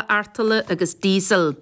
Artola agus Diesel.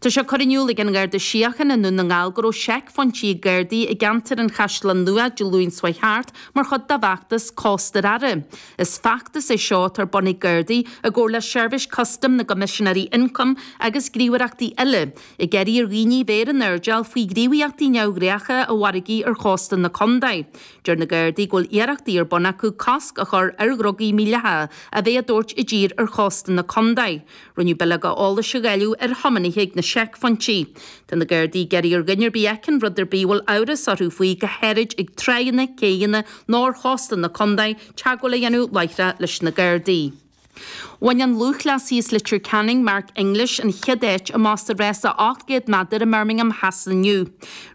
Tá sé curtha in iúl ag an nGarda Síochána i nDún na nGall go raibh seicphointí ag Gardaí i gceantar an Chaisleáin Nua Dé Luain seo chuaigh thart mar chuid dá bhfeachtas Cósta ar Aire. Is feachtas é seo atá ar bun ag Gardaí i gcomhar le Seirbhís Custaim na gCoimisinéirí Ioncaim agus gníomhaireachtaí eile, ag iarraidh ar dhaoine bheith ar an airdeall faoi ghníomhaíochtaí neamhghnácha i bhfarraigí ar chósta na contae. Deir na Gardaí go bhfuil iarrachtaí ar bun acu cosc a chur ar dhrugaí mídhleathacha a bheith á dtabhairt i dtír ar chósta na contae. Rinneadh bileoga eolais a dháileadh ar thiománaithe ag na seicphointí. Tá na Gardaí ag iarraidh ar dhuine ar bith a fheiceann rud ar bith a bhfuil amhras orthu faoi, go háirid ag tráigheanna, céidheanna nó ar chósta na contae, teagmháil a dhéanamh láithreach leis na Gardaí. Bhain an lúthchleasaí as Leitir Ceanainn, Mark English, an chéad áit amach sa rása 800 méadar i mBirmingham Shasana inniu.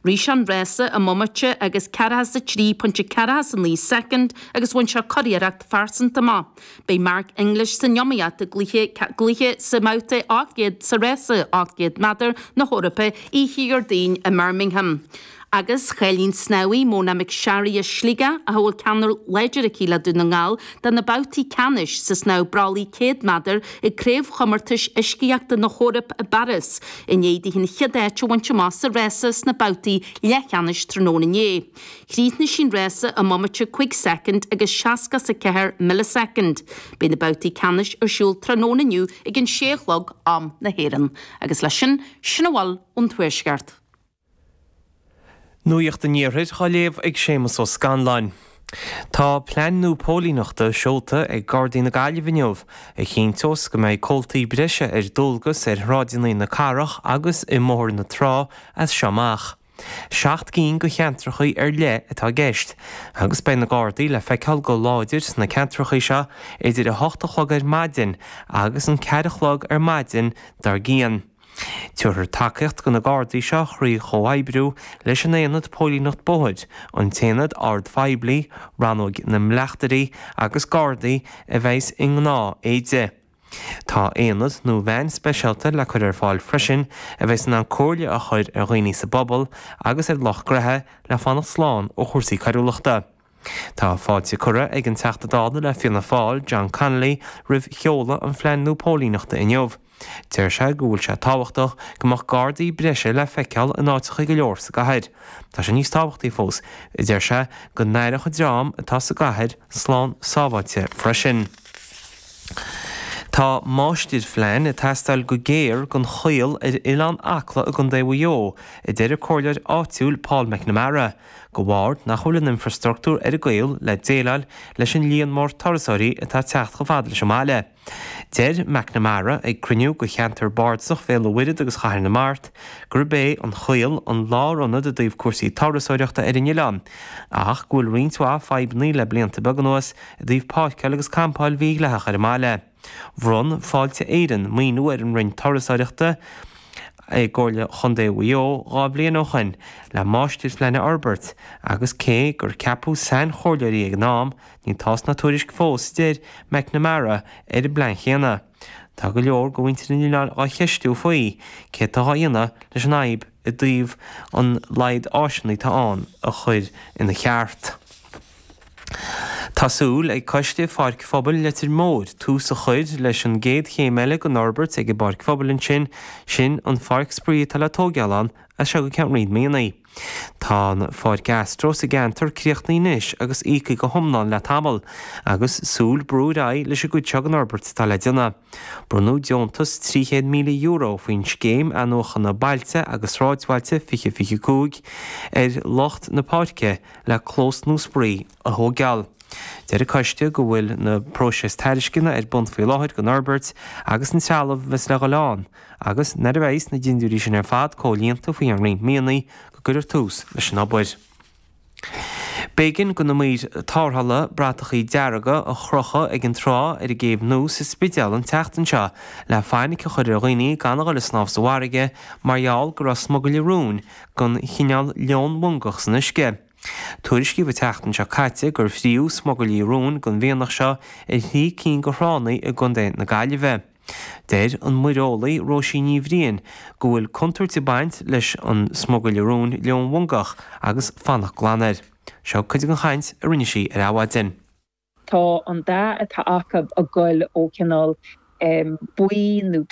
Rith sé an rása i mbomaite agus 43.49 soicind agus bhain sé curiarracht phearsanta amach. Beidh Mark English san iomaíocht i gcluiche gcluiche sa mbabhta 800 sa rása 800 méadar na hEorpa oíche Dhéardaoin i mBirmingham. Agus chaill an snámhaí Mona McSharry as Sligeach, a bhfuil ceangal láidir aici le Dún na nGall, do na babhtaí ceannais sa snámh brollaigh 100 méadar ag Craobhchomórtais Uiscíochta na hEorpa i bPáras, i ndiaidh di an chéad áit a bhaint amach sa rása sna babhtaí leathcheannais tráthnóna inné. Chríochnaigh sí an rása i mbomaite 5 soicind agus 64 millisoicind. Beidh na babhtaí ceannais ar siúl tráthnóna inniu ag an sé a chlog, am na hÉireann. Agus leis sin, sin a bhfuil ón Tuaisceart. Nuacht an Iarthair á léamh ag Séamus Ó Scanláin. Tá plean nua póilíneachta seolta ag Gardaí na Gaillimhe inniu a chinnteos go mbeidh comhaltaí breise ar dualgas ar shráideanna na cathrach agus i mBóthar na Trá as seo amach. 7 gcinn de cheantracha ar leith atá i gceist agus beidh na Gardaí le feiceáil go láidir sna ceantracha seo idir 8 a chlog ar maidin agus an 4 a chlog ar maidin dár gcionn. Tabharfar tacaíocht do na Gardaí seo thrí chomhoibriú leis an Aonad Póilíneacht Bóthair, an tAonad Oird Phoiblí, Rannóg na mBleachtairí agus Gardaí a bheas i ngnáth éide. Tá aonad nó veain speisialta le cur ar fáil freisin a bheas in ann comhairle a chur ar dhaoine sa bpobal agus ar lucht gnoithe le fanacht slán ó chúrsaí coiriúlachta. Tá fáilte curtha ag an Teachta Dála le Fianna Fáil, John Connolly, roimh sheoladh an phlean nua póilíneachta inniu. Deir sé go bhfuil sé tábhachtach go mbeadh gardaí breise le feiceáil in áiteacha go leor sa gcathair. Tá sé níos tábhachtaí fós, a deir sé, go n-aireodh an dream atá sa gcathair slán sábháilte freisin. Tá máistirphlean ag teastáil go géar don Chaol ar Oileán Acla i gContae Mhaigh Eo, a deir an comhairleoir áitiúil Paul McNamara. De bharr nach bhfuil an infreastruchtúr ar an gCaol le déileáil leis an líon mór turasóirí atá ag teacht chomh fada leis an mbaile. Deir McNamara ag cruinniú de cheantar bardasach Bhéal an Mhuirthead agus Chathair na Mart gurb é an Caol an lárionad i dtaobh cúrsaí turasóireachta ar an oileán ach go bhfuil roinnt mhaith fadhbanna le blianta beaga anuas i dtaobh páirceáil agus campáil mhídhleathach ar an mbaile. Bhronn Fáilte Éireann maoiniú ar an Roinn Turasóireachta i gComhairle Chontae Mhaigh Eo 2 bhliain ó shoin le máistirphlean a fhorbairt agus cé gur ceapadh sainchomhairleoirí ag an am, níl tásc ná tuairisc fós, a deir McNamara, ar an bplean chéanna. Tá go leor de mhuintir an oileáin á cheistiú faoi céard atá á dhéanamh leis an fhadhb i dtaobh an laghad áiseanna atá ann a chur ina cheart. Tá súil ag Coiste Pháirc Phobail Leitir Móir tús a chur leis an gcéad chéim eile den fhorbairt ag an bpáirc phobail ansin, sin an pháirc spraoi atá le tóigeáil ann as seo go ceann roinnt míonna. Tá an pháirc astro sa gceantar críochnaithe anois agus íoctha go hiomlán le tamall, agus súil brú ar aghaidh leis an gcuid seo den fhorbairt atá le déanamh. Bronnadh deontas €300,000 faoin Scéim Athnuachana Bailte agus Sráidbhailte 2025 ar lucht na páirce le clós nua spraoi a thóigeáil. Deir an coiste go bhfuil na próiseas tairisceana ar bun faoi láthair don fhorbairt agus an trealamh a bheas le dhul ann agus nuair a bheas na dindiúirí sin ar fad comhlíonta faoi cheann roinnt míonna go gcuirfear tús leis an obair. B'éigean do na maoir tarrthála bratachaí dearga a chrochadh ag an trá ar an gCéibh Nua sa Spidéal an tseachtain seo le fainic a chur ar dhaoine gan a dhul ag snámh sa bhfarraige mar gheall go raibh smugairle róin den chineál leonmhongach san uisce. Tuairiscíodh an tseachtain seo caite gur fríodh smugairlí róin den mhianach seo ar thrí cinn de thránna i gcontae na Gaillimhe. Deir an muireolaí Róisín Ní Bhriain go bhfuil contúirt ag baint leis an smugairle róin leonmhongach agus fanacht glan air. Seo cuid den chaint a rinne sí ar Adhmhaidin. Tá an dath atá acu ag goil ó chineál. buí nó.